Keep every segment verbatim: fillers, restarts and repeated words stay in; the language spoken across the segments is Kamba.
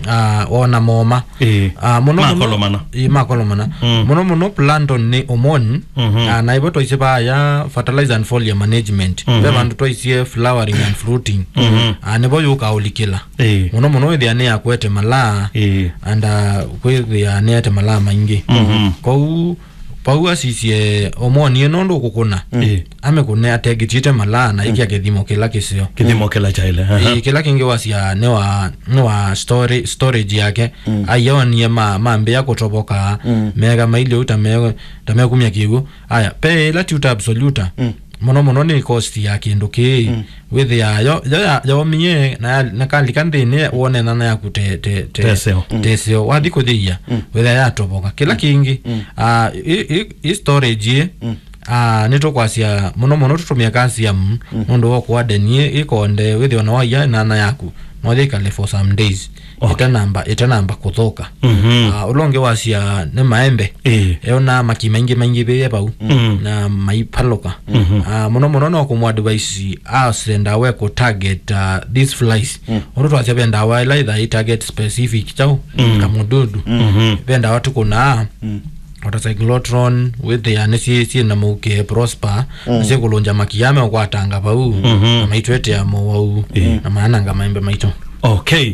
ah, ona moma. Ĩĩ. Ah, mũno mũno makolomana. Ĩĩ, makolomana. Mm. Mũno mũno plantain nĩ omoni. Mhm. Ah, na ivo twaisye vaya fertilizer and foliar management. Mhm. Ve vandũ twaisye flowering and fruiting. Mhm. Ah, nĩvo yũka ũlikĩla. Ĩĩ. Mũno mũno wĩthĩa nĩ yakwete malaa. Ĩĩ. And, ah, kwĩthĩa nĩete malaa maingĩ. Mhm. Kwoou Vau asisye omoni ĩno ndũkũkũna. Mm. Ĩĩ. Amĩkũne ategitĩte malaa na ĩkĩa kĩthimo kĩla kĩseo. Kĩthimo kĩla kyaĩle. Aha. Ĩĩ, kĩla kĩngĩ wasya nĩ wa, nĩ wa story, storage yake. Mm. Aionie ma, mambĩa kũtoboka. Mm. Meka mailye ũu ta me, ta mekumya kĩw'ũ. Aya, pe ĩla tuta absoluta. Mm. Mũno mũno nĩ cost ya kĩndũ kĩĩ. Mm. Wĩthĩa yo, yo ya, yomie na, ya, na kalika nthĩnĩ wone nana yaku te, te, te, teseo. Mm. Teseo. Wathi kũthĩia, mm, wĩthĩa yatoboka. Kĩla kĩngĩ, mm, ah, i, i, i storage ĩ, mm, ah, nĩtũkwasya mũno mũno tũtũmĩa calcium, mm, nũndũ wa kũadeni ĩ, ĩkonde wĩthĩa ona waia nana yaku, no yĩkale for some days. Okay. Ĩtanamba, ĩtanamba kũthũka. Mhm. Ah, ũla ũngĩ wasya nĩ maembe. Ĩĩ. Eona maki maingĩ maingĩvĩe vau. Mm. Na maipalũka. Mhm. Ah, mũno mũno no kũmũadvise asenda we kũ target, ah, these flies. Mm. Ũndũ twasya ve ndawa ĩla ĩtha ĩ target specific chau, mm, kamũdudu. Mhm. Ve ndawa tũkũnaa, mm, ota cyclotron, wĩthĩa nĩ syĩ, syĩ na mũuke prosper, mm, na syĩkũlũngya makia meũkwatanga vau, mhm, na maitwetea mowau, ĩĩ, na maananga maembe maitũ. Okay.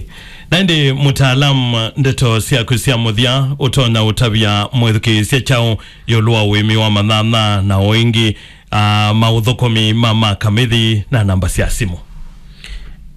Na ĩndĩ mũtaalam, ndeto syaku sya mũthya ũtonya ũtavya mwĩthukĩĩsya kyaũ ĩũlũ wa ũĩmi wa manyanya na o ĩngĩ, ah, maũthũkũmi ma makamithi na namba sya simũ?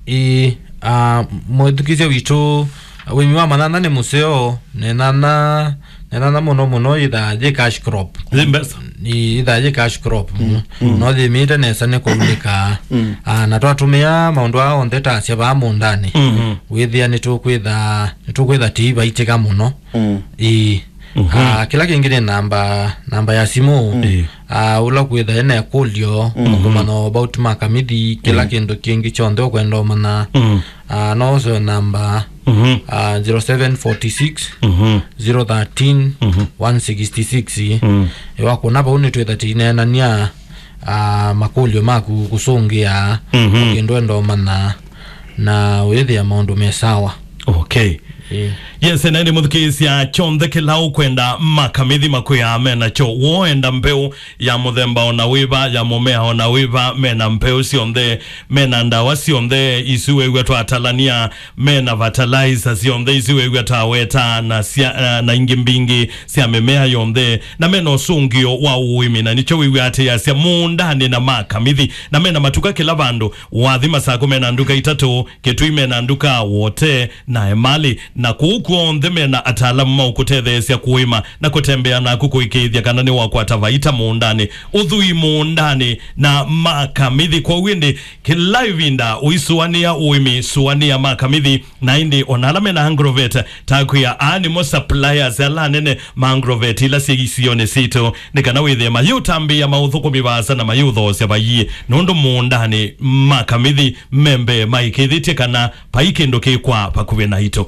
Ĩĩ, ah, mwĩthukĩĩsya witũ, ũĩmi wa manyanya nĩ mũseo, nenana, nenana mũno mũno yĩthaa yĩ cash crop. Yĩ mbesa. Ĩĩ, yĩthaa yĩ cash crop. Mm. Mm. No yĩmĩte nesa nĩ kũulĩka. Mm. Ah, na twatũmĩa maũndũ aa onthe ta asya vaa mũũndanĩ. Mhm. Wĩthĩa nĩtũkwĩtha, nĩtũkwĩtha tĩi vaitĩka mũno. Mm. Ĩĩ. Mhm. Ah, kĩla kĩngĩ nĩ namba, namba ya simũ. Ĩĩ. Ah, ũla kwĩtha ena ĩkũlyo, mhm, kũmanya about makamithi, kĩla, mm, kĩndũ kĩngĩ kyonthe ũkwenda ũmanya. Mm. Ah, no ũseo namba, mhm, ah, zero seven forty six, mhm, zero thirteen, mhm, one sixty six. Mm. Ĩwakũna vau nĩtwĩtha tĩineenania, ah, makũlyo maku kũsũngĩa, mhm, kĩndũ enda ũmanya na ũyĩthĩa maũndũ me sawa. Okay. Ĩĩ. Yes, na ĩndĩ mũthukĩĩsya kyonthe kĩla ũkwenda makamithi makwĩaa me nakyo. Woenda mbeũ ya mũthemba ona wĩva, ya mũmea ona wĩva, mena mbeũ syonthe, mena ndawa syonthe isu wew'a twatalania, mena fertilizer syonthe isu wew'a twaweta, na sya, na, na ingĩ mbingĩ sya mĩmea yonthe, na mena ũsũngĩo wa ũĩmi, na nĩkyo wĩw'a atĩ asya mũũndanĩ na makamithi, na mena matuka kĩla vandũ. Wathi Masakũ mena nduka itatũ, Kĩtui mena nduka, Wote na Emali, na kũu kw'onthe mena ataalamu ma ũkũtetheesya kũĩma na kũtembea naku kũĩkĩĩthya kana nĩwakwata vaita mũũndanĩ, ũthwii mũũndanĩ na makamithi. Kwoou ĩndĩ kĩla ĩvinda ũisũanĩa ũĩmi, sũanĩa makamithi, na ĩndĩ ona ala mena agrovet, takwĩa aa nĩmo suppliers ala anene ma agrovet ila syĩ isionĩ sitũ, nĩ kana wĩthĩe mayĩũtambĩĩa maũthũkũmi vaasa na mayĩũthoosya vaiĩ, nũndũ mũũndanĩ makamithi me mbee maĩkĩĩthĩtye kana vai kĩndũ kĩkwaa vakuvĩ naitũ.